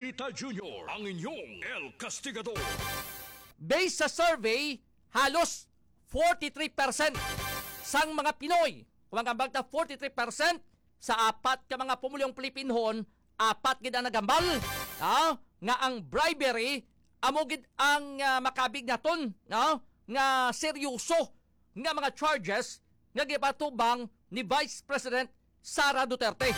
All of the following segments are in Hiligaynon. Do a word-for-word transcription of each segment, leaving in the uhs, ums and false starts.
Rita Junior, ang inyong El Castigador. Based sa survey, halos forty-three percent sang mga Pinoy, kung ang ambag ta forty-three percent sa apat ka mga pumulyong Pilipinhon, apat gid ang nagambal, ah, nga ang bribery amo gid ang, ah, makabig naton, no, nga seryoso nga mga charges nga gipatubang ni Vice President Sara Duterte.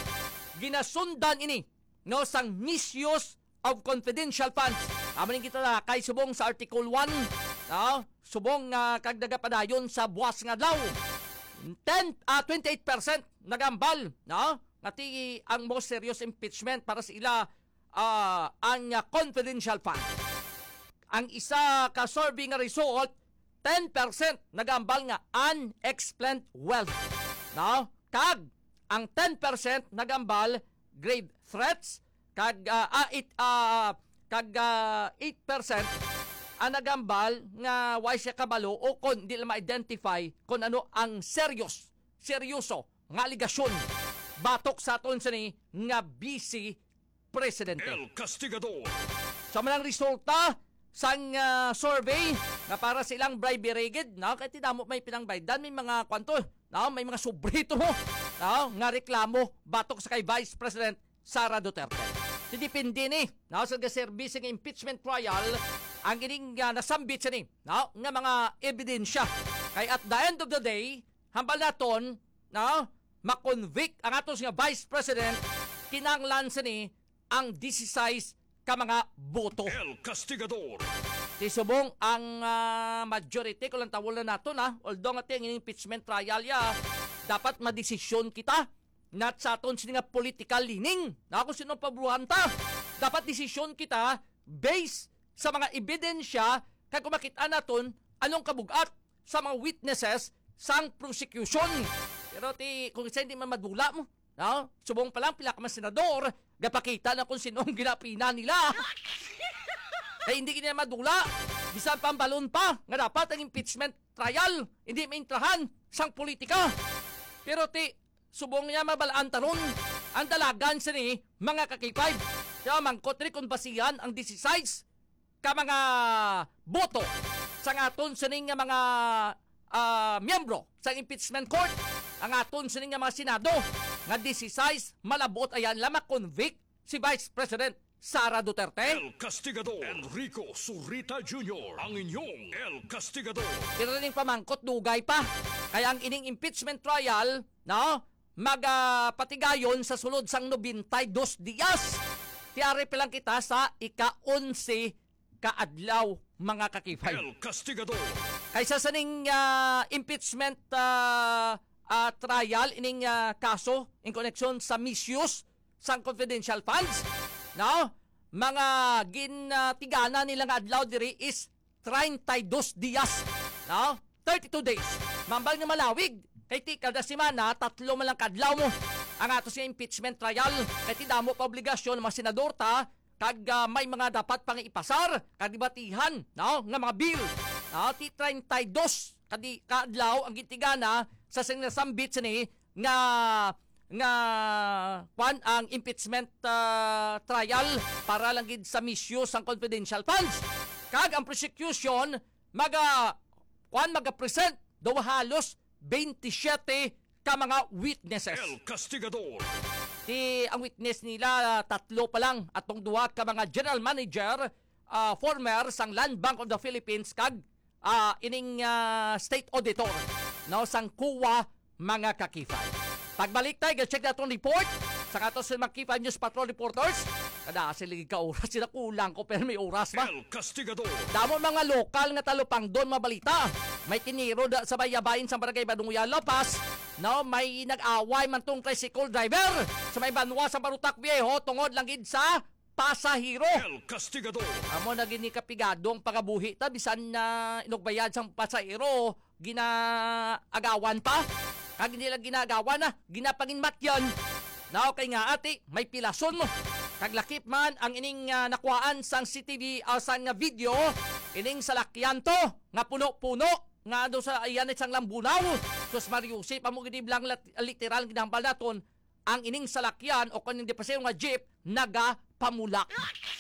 Ginasundan ini, no, sang misuse of confidential funds. Amo ning gitalakay subong sa Article one, no, subong nga kag nagapadayon sa buwas nga adlaw. Ten, ah, twenty-eight percent nagambal, no, nga ti ang most serious impeachment para sa ila, ah, ang, ah, confidential fund. Ang isa ka survey nga result, ten percent nagambal nga unexplained wealth, no? Kag ang ten percent nagambal grave threats, kag, ah, ah, it, ah, kag, ah, eight percent ang nagambal nga way siya kabalo o kon di lang ma-identify kung ano ang serious, seryoso nga aligasyon batok sa aton sini nga vice presidente. El Castigador. Sa manang resulta sang, ah, survey nga para sa ilang bribery gid, no? Kay ti damo may pinangbaydan, may mga kwanto, no? May mga sobrito, no? Nga reklamo batok sa kay Vice President Sara Duterte. Ti depende ni, no, sa gaserbi sing impeachment trial ang ining, ah, nasambit sini, no, nga mga ebidensya. Kay at the end of the day, hambal naton, no, makonvict ang atos nga Vice President, kinahanglan sini ang disisais ka mga boto. El Castigador. Ti subong ang, ah, majority, kung lang tawon na nato na, although nga ti ang impeachment trial ya, dapat madesisyon kita, not sa aton sini nga political leaning, na kung sino ang paboruhan ta. Dapat desisyon kita based sa mga ebidensya, kag kung makita naton anong kabugat sa mga witnesses sang prosecution. Pero ti, kung isa hindi man madula mo, no? Subong pa lang, pila ka man senador, gapakita na kung sino ang ginapina nila. Kay hindi gid nila madula, bisan pambalon pa, nga dapat ang impeachment trial, hindi maintrahan sang politika. Pero ti, subong niya mabalaan taron ang dalagan sini, mga ka-K five. Kaya mangkot rin kung basihan ang disisais ka mga boto sang aton sining nga mga, ah, miyembro sang impeachment court, ang aton sining nga mga Senado nga disisais malabot ayan la ma-convict si Vice President Sara Duterte. El Castigador, Enrico Surita Junior, ang inyong El Castigador. Pero ning pamangkot dugay pa, kaya ang ining impeachment trial, no, magapatigayon sa sulod sang nobenta y dos dias. Tiyari pa lang kita sa ika-onse ka adlaw, mga ka-K five. El Castigador. Kaysa sa ning, ah, impeachment, ah, ah, trial, ining, ah, kaso in connection sa misuse sang confidential funds, no? Mga gintigana nila nga adlaw diri is treinta y dos dias, no? Thirty-two days. Mambal nga malawig. Kay ti kada semana, tatlo man lang kadlaw mo ang ato sa impeachment trial. Kay ti damo pa obligasyon ng mga senador ta, kag, ah, may mga dapat pang ipasar, kag debatihan, no? Nga mga bill. No? Ti treinta y dos kadi ka adlaw ang gintigana sa sinasambit sini nga, nga, kwan, ang impeachment, ah, trial para lang gid sa misuse sang confidential funds. Kag ang prosecution maga, kwan, maga-present daw halos twenty-seven ka mga witnesses. El Castigador. Ti ang witness nila, tatlo pa lang, atong duha ka mga general manager, ah, former sang Land Bank of the Philippines, kag, ah, ining, ah, state auditor, no, sang COA, mga ka-K five. Pagbalik tayo, check na atong report sa aton sa mga K five News Patrol reporters. Kada sila ka oras, sila kulang ko, pero may oras ba? El Castigador. Damo mga lokal nga talupangdon mabalita. May tiniro da sa bayabayin sa Barangay Badunguya, La Paz. No, may nag-away man tong tricycle driver sa may banwa sa Barutak Viejo tungod lang gid sa pasahero. El Castigador. Amo na gini kapigado ang pangabuhi ta, bisan na inugbayad sang pasahero, ginaagawan pa. Kag hindi lang ginaagawan na, ginapanginmatyan. Na okay nga ati, may pilason mo. Kag lakip man ang ining, ah, nakuhaan sang C C T V, ah, sang, ah, video, ining salakyan to nga puno-puno nga do sa iyan sang lambunaw. Sus Mario, si pa mo gid lang lat-, literal ginahambal naton ang ining salakyan o kung hindi pa siya nga jeep, naga pamulak.